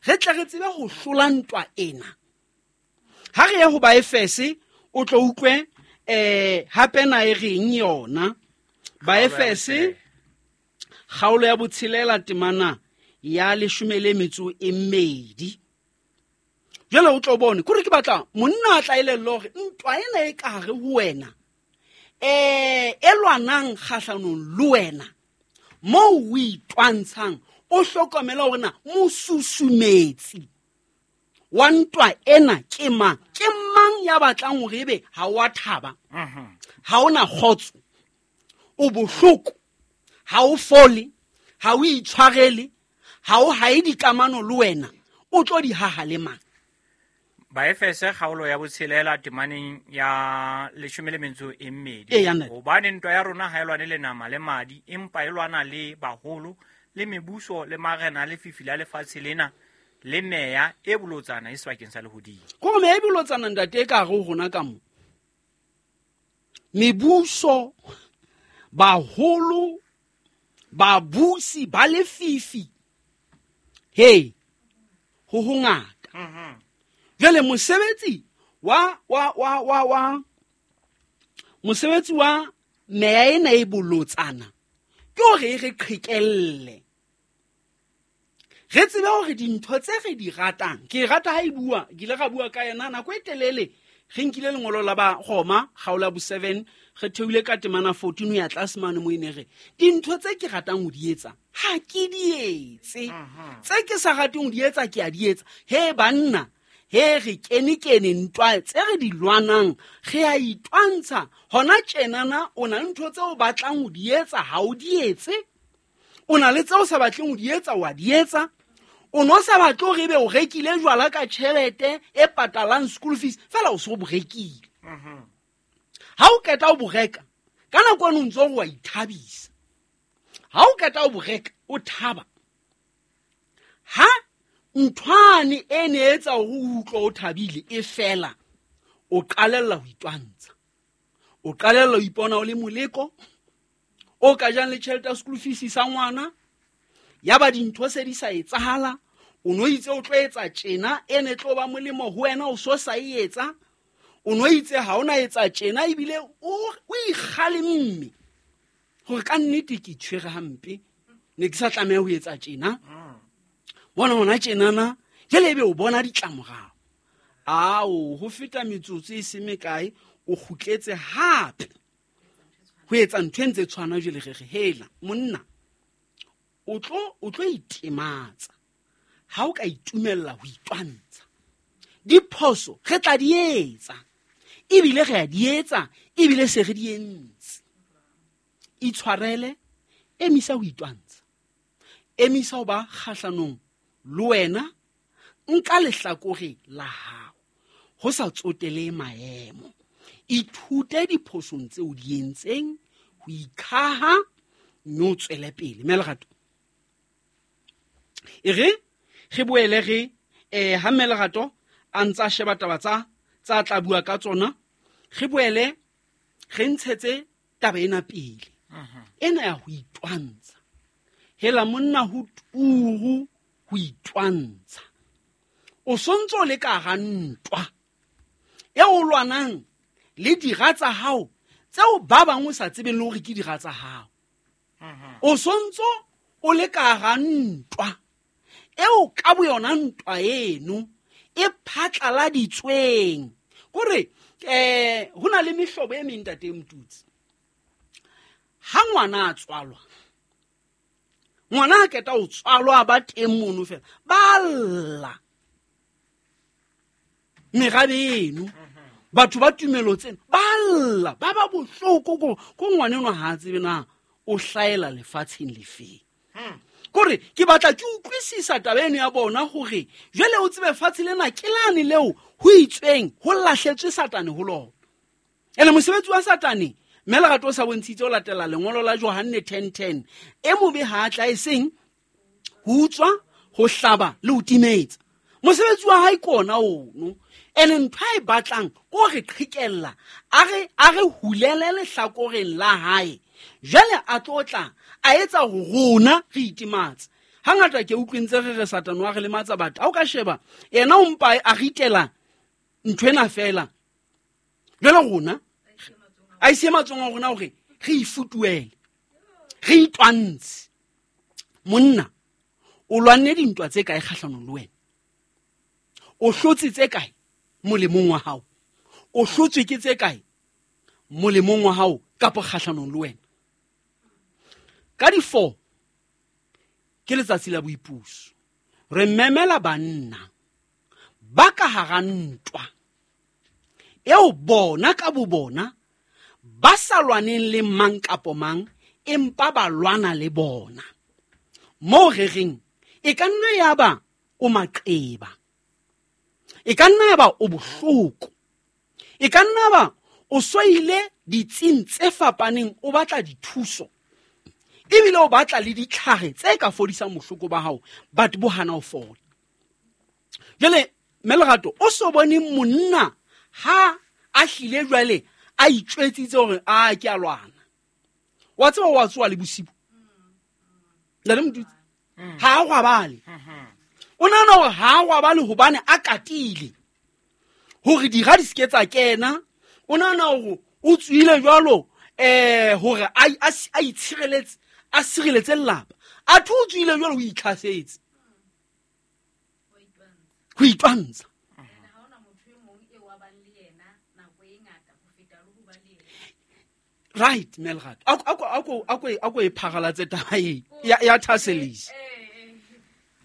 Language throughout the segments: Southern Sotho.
Re tle re tsebe ho hlola ntwa ena. Ha re ye ho Baefese, o tlo utlwe hape na e reng yona. Baefese kgaolo ya botshelela temana ya 12. Jwale o tlo bone kore ke batla monna a tla elellwa hore ntwa ena e ka hare ho wena, e lwanang kgahlanong le wena, moo o itwantshang, o hlokomela hore na mosusumetsi wa ntwa ena ke mang, ke mang ya batlang hore ebe ha o a thaba, ha ona kgotso, o bohloko, ha o fole, ha o itshwarele, ha o hae dikamano le wena, o tlo di haha le mang? Baefese kgaolo ya botshelela temaneng ya 12. Ee, ya nnete. Hobane ntwa ya rona ha e lwane le nama le madi, empa e lwana le baholo, le mebuso, le marena, le fifi la lefatshe lena, le meya e bolotsana e sebakeng sa lehodimo. Ko meya e bolotsana ntate e ka hare ho rona ka mo. Mebuso, baholo, babusi ba lefifi. Hey, ho hongata. Jwale mosebetsi wa, wa, wa, wa, wa, mosebetsi wa meya ena e bolotsana ke hore e re qhekelle. Re tsebe hore dintho tse re di ratang, ke e rata ha e bua, ke ile ra bua ka yena nako e telele, re nkile lengolo la ba Roma, kgaolo ya bo 7, re theohile ka temana 14 ho ya tlase mane mo e ne re, dintho tse ke ratang ho di etsa, ha ke di etse. Tse ke sa rateng ho di etsa, ke a di etsa. He banna, he re kene-kene ntwa tse re di lwanang, re a itwantsha. Hona tjenana o na le ntho tse o batlang ho di etsa, ha o di etse. O na le tse o sa batleng ho di etsa, wa di etsa. O no sa batle hore ebe o rekile jwala ka tjhelete e patalang school fees, fela o so bo rekile. Ha o qeta o bo reka, ka nako eno o ntso o wa ithabisa. Ha o qeta o bo reka, o thaba. Ha nthwane e ne etsa hore o utlwe o thabile e fela, o qalella ho itwantsha. O qalella ho ipona o le moleko, o ka jang le tjhelete ya school fees sa ngwana, ya ba dintho se di sa etsahala, o no itse o tlo etsa tjena, e ne tlo ba molemo ho wena, o so sa e etsa. O no itse ha ona etsa tjena, ebile o ikgalemme hore ka nnete ke itshwere hampe, ne ke sa tlameha ho etsa tjena. Bona hona tjenana, jwale ebe o bona ditlamorao. Ao, ho feta metsotso e se mekae, o kgutletse hape ho etsa ntho e ntse tshwana. Jwale re re, hela monna, o tlo itematsa ha o ka itumella ho itwantsha. Diphoso re tla di etsa, ebile re a di etsa, ebile se re di entse. Itshwarele, emisa ho itwantsha, emisa ho ba kgahlanong le wena, nka lehlakore la hao ho sa tsotele maemo. Ithute diphosong tseo di entseng, ho ikhaha, mme o tswele pele. Mme Lerato, e re re boele re, ha mme Lerato a ntsa sheba taba tsa tla bua ka tsona, re boele re ntshetse taba ena pele. Ena ya ho itwantsha. Hela monna ho turu ho itwantsha. O sontso o le ka hara ntwa e o lwanang le dira tsa hao tseo ba bang o sa tsebeng le hore ke dira tsa hao. O sontso o le ka hara ntwa eo ka boyona ntwa eno e phatlaladitsweng. Kore, ho na le mehlobo e meng, ntate Motutsi. Ha ngwana a tswalwa, ngwana a qeta ho tswalwa ba teng mono fela, ba lla. Merabe eno, batho ba tumelo tsena, ba lla, ba ba bohloko ko ngwana enwa ha a tsebe na o hlaela lefatsheng lefeng. Kore ke batla ke utlwisisa taba eno ya bona hore jwale o tsebe fatshe lena ke lane leo ho itsweng ho lahletswe Satane ho lona. Ene mosebetsi wa Satane, mme Lerato o sa bontshitse ho latela lengolo la Johanne 10:10, e mobe ha a tla e seng ho utswa, ho hlaba le ho timetsa. Mosebetsi wa hae ke ona ono. Ene ntho a e batlang ke ho re qhekella, a re hulele lehlakoreng la hae. Jwale a tlo tla a etsa hore rona re itematse. Hangata ke utlwe ntse re re Satane wa re lematsa batho. Ha o ka sheba yena o mpa a ritela ntho ena fela. Jwale rona a ise matsong a rona hore re ifutuele, re itwantshe. Monna o lwanne dintwa tse kae kgahlanong le wena? O hlotse tse kae molemong wa hao? O hlotswe ke tse kae molemong wa hao kapa kgahlanong le wena? Ka di 4 ke letsatsi la boipuso. Re memela banna ba ka hara ntwa eo bona ka bo bona ba sa lwaneng le mang kapo mang, empa ba lwana le bona. Moo re reng e ka nna ya ba o maqeba, e ka nna ya ba o bohloko, e ka nna ba o soile ditsing tse fapaneng, o batla dithuso ebile o batla le ditlhare tse ka fodisang bohloko ba hao, but bo hana ho fola. Jwale mme Lerato, o so bone monna ha a hlile jwale a itjwetsitse hore a ke a lwana. Wa tseba wa tsoa le bosibu. Ntate Motutsi, ha a robale. O nahana hore ha a robale hobane a katile hore dira di se ke tsa kena. O nahana hore o tswile jwalo hore a itshireletse, a sireletse lelapa. Athe o tswile jwalo o itlhasetse. Ho itwantsha. Right, mme Lerato. Ako e pharalatse taba e ya thasellisa.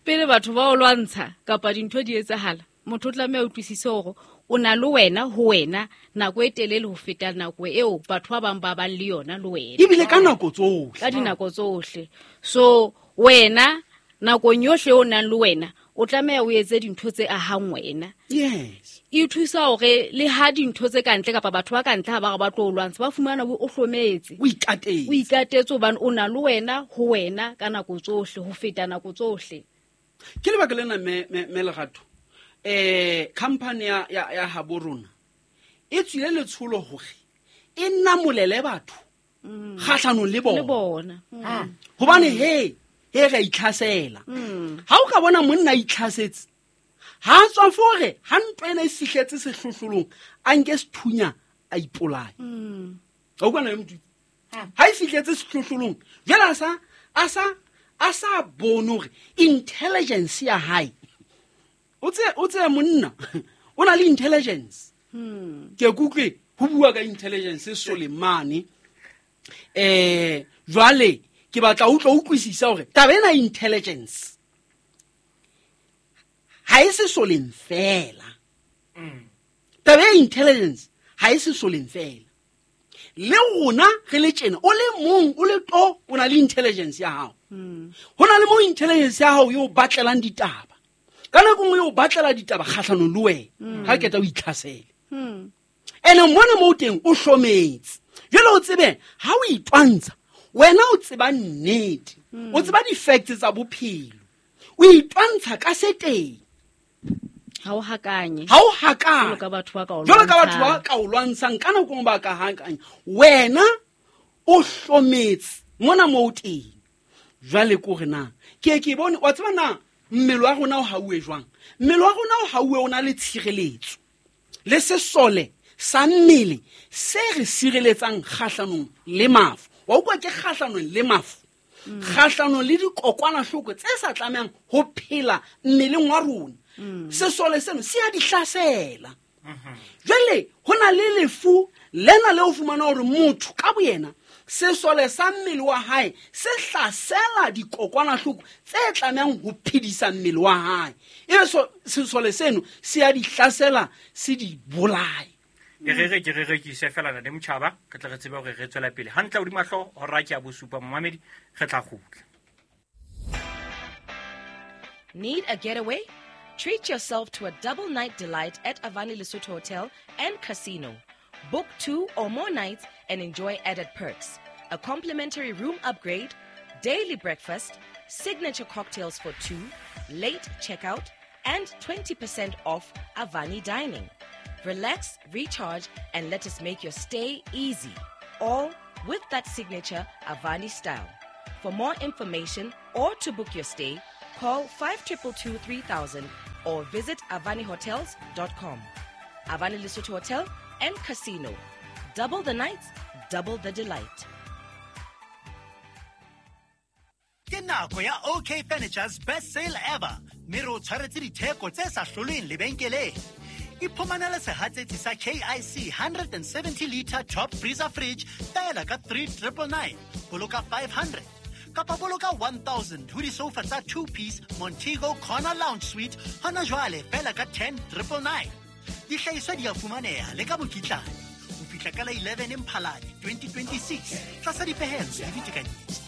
Pele batho ba o lwantsha kapa dintho di etsahala, motho o tlameha a utlwisise hore o na le wena ho wena nako e telele ho feta nako eo batho ba bang ba bang le yona le wena. Ebile ka nako tsohle. Ka dinako tsohle. So wena nakong yohle o nang le wena, o tlameha o etse dintho tse ahang wena. Yes. E thusa hore le ha dintho tse ka ntle kapa batho ba ka ntle ha ba re ba tlo o lwantsha, ba fumana o hlometse. O ikatetse. O ikatetse hobane o na le wena ho wena ka nako tsohle, ho feta nako tsohle. Ke lebaka lena mme Lerato, company ya habo rona e tswile letsholo hore e namolele batho kgahlanong le bona. Le bona. Hobane he re a itlhasela. Ha o ka bona monna a itlhasetse, ha a tswa fore, ha ntwa ena e fihletse sehlohlolong, a nke sethunya a ipolaye. Ha o utlwa na le motho? Ha e fihletse sehlohlolong, jwale a sa bone hore intelligence ya hae. O tse monna, o na le intelligence. Ke kutlwe ho bua ka intelligence Soleimane. Jwale ke batla o tlo utlwisisa hore taba ena intelligence ha e se soleng fela. Taba ya intelligence ha e se soleng fela. Le rona re le tjena, o le mong, o le to, o na le intelligence ya hao. Ho na le mo intelligence ya hao yo batlelang ditaba. Ka nako nngwe yo batlela ditaba kgahlanong le wena, ha keta o itlhasele. Ene mona mo teng o hlometse. Jwale o tsebe ha o itwantsha, wena o tseba nnete, o tseba di-facts tsa bophelo. O itwantsha ka se teng. Ha o hakanye. Ha o hakanye. Jwalo ka batho ba ka o Jwalo ka batho ba lwantshang. ka o lwantshang, ka nako nngwe ba ka hakanya. Wena o hlometse mona mo o teng. Jwale ke hore na, ke bone, wa tseba na mmele wa rona o hauwe jwang? Mmele wa rona o hauwe o na le tshireletso. Le sesole sa mmele se re sireletsang kgahlanong le mafu. Wa utlwa ke kgahlanong le mafu. Kgahlanong le dikokwanahloko tse sa tlamehang ho phela mmeleng wa rona. Sesole seno se a di hlasela. Jwale ho na le lefu lena le o fumana hore motho ka boyena sesole sa mmele wa hae se hlasela dikokwanahloko tse tlamehang ho phedisa mmele wa hae. Ebe sesole seno se a di hlasela, se di bolaye. Ke re ke ise fela ntate Motjhaba, re tle re tsebe hore re tswela pele. Hantle hodima hlooho, hora ke ya bosupa, momamedi, re tla kgutla. Need a getaway? Treat yourself to a double night delight at Avani Lesotho Hotel and Casino. Book 2 or more nights and enjoy added perks. A complimentary room upgrade, daily breakfast, signature cocktails for 2, late checkout, and 20% off Avani dining. Relax, recharge, and let us make your stay easy. All with that signature Avani style. For more information or to book your stay, Call 5222 3000 or visit avanihotels.com. Avani Lesotho Hotel and Casino. Double the nights, double the delight. Ke nako ya OK Furniture's best sale ever, mme re o tshwaretse ditheko tse sa hlolweng lebenkeleng. Iphumanele sehatsetsi sa KIC 170 litre top freezer fridge fela ka 3999, boloka 500, kapa boloka 1000 ho disofa tsa 2 piece Montego Corner Lounge Suite hona jwale fela ka 10999. Dihlahiswa di a fumaneha le ka mokitlane ho fihla ka la 11 Mphalane 2026 tlasa dipehelo le ditekanyetso.